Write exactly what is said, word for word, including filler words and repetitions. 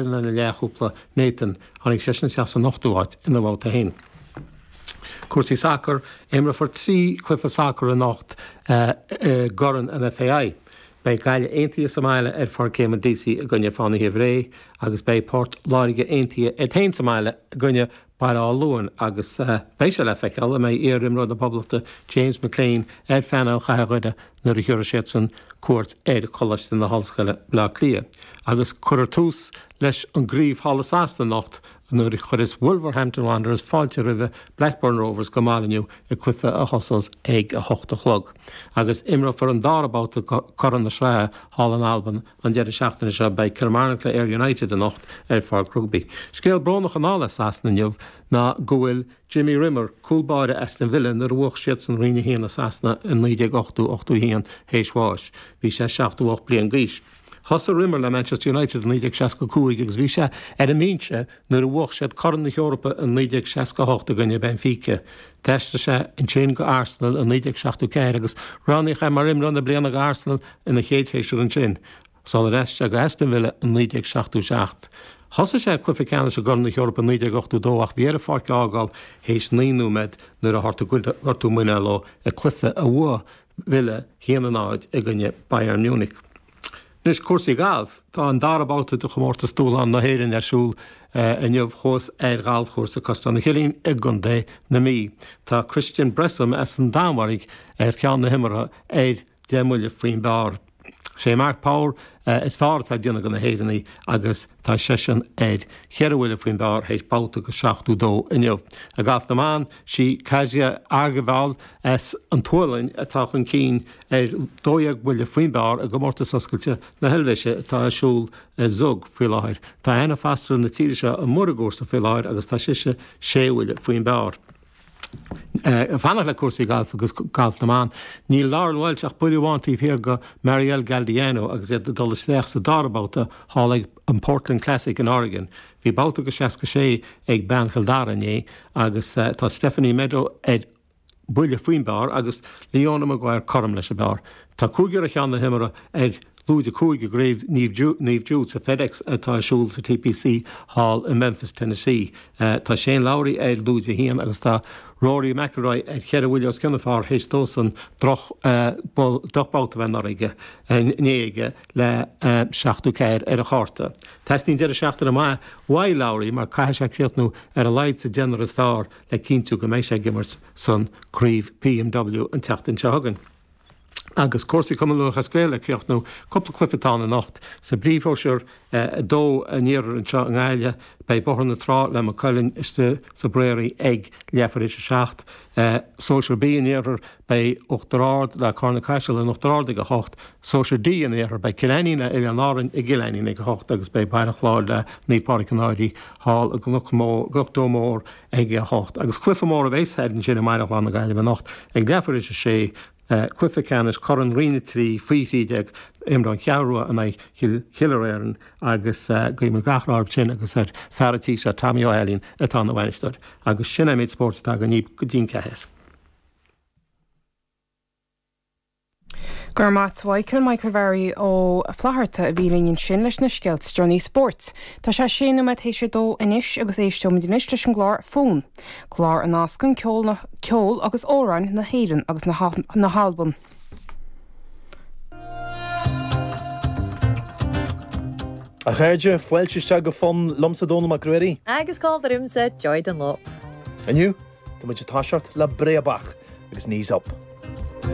lena leathchúpla Nathan, tháinig seisean isteach san ochtú háit ina bhabhta féin. Cúrsaí sacair, Imreofar trí chluiche sacair anocht i gCorn an FAI. Beidh Gaillimh Aontaithe sa mbaile ar Pháirc Éamonn Deacy i gcoinne Fánaithe Bhré agus beidh Port Láirge Aontaithe iad féin sa mbaile i gcoinne Baile Átha Luain agus beidh sé le feiceáil an mbeidh iar-imreoir na Poblachta James McClean ar phainéal Chathair Dhoire nuair a thiúrfaidh siadsan cuairt ar Choláiste na hOllscoile, Baile Átha Cliath. Agus cuirfear tús leis an gcraobh thall i Sasana anocht nuair a chuirfeas Wolverhampton Wanderers fáilte roimhe Blackburn Rovers go mall inniu i gcluiche a thosós ag a hocht a chlog. Agus imreofar an dara babhta de Chorn na Sraithe thall in Albain an deireadh seachtaine seo. Beidh Kilmarnock le Ayr United anocht ar Pháirc Rugby. Scéal brónach i ndáil le Sasana inniu ná go bhfuil Jimmy Rimmer, cúl báire Aston Villa nuair a bhuach siadsan Roinn a haon i Sasana i naoi déag ochtó, ochtó a haon, théis bháis. Bhí sé seachtó ocht bliain d'aois. Thosaigh Rimmer le Manchester United i naoi déag seasca a cúig agus bhí sé ar an mbinse nuair a bhuach siad Corn na hEorpa i naoi déag seasca a hocht i gcoinne Benfica. D'aistrigh sé ansin go Arsenal i naoi déag seachtó ceathair agus roghnaíodh é mar imreoir na bliana go Arsenal ina chéad shéasúr ansin, sular aistrigh sé go Aston Villa i naoi déag seachtó seacht. Thosaigh sé i gcluiche ceannais i gCorn na hEorpa i naoi déag ochtó dó ach bhí air an pháirc a fhágáil théis naoi nóiméad nuair a tharla gortú muineáil dó i gcluiche a bhuaigh Villa a haon a náid i gcoinne Bayern Munich. Anois cúrsaí gailf. Tá an dara babhta de chomórtas Dúshlán na hÉireann ar siúl inniu thuas ar ghalfchúrsa Caisleán an Chillín i gContae na Mí. Tá Kristian Bressum as an Danmhairg ar cheann na himeartha ar deich mbuille faoin bpar. Sé Mark Power is fearr atá ag déanamh de na hÉireannaigh agus tá seisean ar cheithre bhuille faoin bpar théis babhta de seachtó dó inniu. I galf na mban, sí Kaja Argevall as an tSualainn atá chun cinn ar dó dhéag buille faoin bpar i gComórtas Oscailte na hEilvéise atá ar siúl i Zug faoi láthair. Tá Anna Foster na tíre seo amuigh ar an gcúrsa faoi láthair agus tá sise sé bhuille faoin bpar. Ag fanacht le cúrsaí gailf agus galf na mban, níl Lauren Walsh ach buille amháin taobh thiar de Marielle Galdeano agus iad ag dul isteach sa dara babhta thall ag an Portland Classic in Oregon. Bhí babhta de seasca sé ag bean Chill Dara inné agus tá Stephanie Meadow ar buille faoin bpar agus Leona Maguire cothrom leis an bpar. Tá cúigear ar cheann na himeartha ar lúide cúig i gCraobh Naomh Jude sa FedEx atá ar siúl sa TPC thall i Memphis, Tennessee. Tá Shane Lowry ar lúide a haon agus tá Rory McIlroy ar cheithre bhuille os cionn an phar théis dósan drochbhabhta a bheith anuraidh aige, inné aige le seachtó ceathair ar a chárta. Teastaíonn deireadh seachtaine maith uaidh Lowry mar caithfidh sé críochnú ar a laghad sa deichniúr is fearr le cinntiú go mbeidh sé ag imirt san Craobh BMW an tseachtain seo chugainn. Agus cúrsaí Cumann Lúthchleas Gael le críochnú, cúpla cluiche atá ann anocht. Sa bPríomhshóisear a dó an iarthair anseo i nGaillimh, beidh Bóthar na Trá le Maigh Cuilinn istigh sa bPraoraigh ag leathuair tar éis a seacht. Sóisear B an iarthair, beidh Uachtar Ard le Carna Caiseal in Uachtar Ard ag a hocht. Sóisear D an iarthair, beidh Cill Ainnín le Oileáin Árainn i gCill Ainnín ag a hocht agus beidh Baile Chláir le Naomh Pádraig an Fhairche thall i gCnoc Mór, gCnoc Mór ag a hocht. Agus cluiche mór a bheas thoir ansin i mBaile Chláir na Gaillimhe anocht ag leathuair tar éis a sé, Cluiche ceannais Chorn Roinn a trí faoi thrí déag, imreoidh An Cheathrú Rua in aghaidh Chill Fhiréann agus guímid gach rath orthu sin agus ar fear an tí seo Tommy Ó hAilín atá ina bhainisteoir. Agus sin é an méid spóirt atá againn go dtí'n ceathair. Go raibh maith a't Mhichael, Michael Mhary Ó Flatharta a bhí linn ansin leis na scéalta is deireanaí spóirt. Tá sé sé nóiméad théis a dó anois agus éisteoimid anois leis an gclár Fonn. Clár a nascann ceol na ceol agus amhráin na hÉireann agus na hAlban. A chairde, fáilte isteach go Fonn liomsa Dónall Mac Ruairí. Agus cá bhfuilimse, Joy Dunlop. Inniu, tá muid ag toiseacht le Breabach agus Knees Up.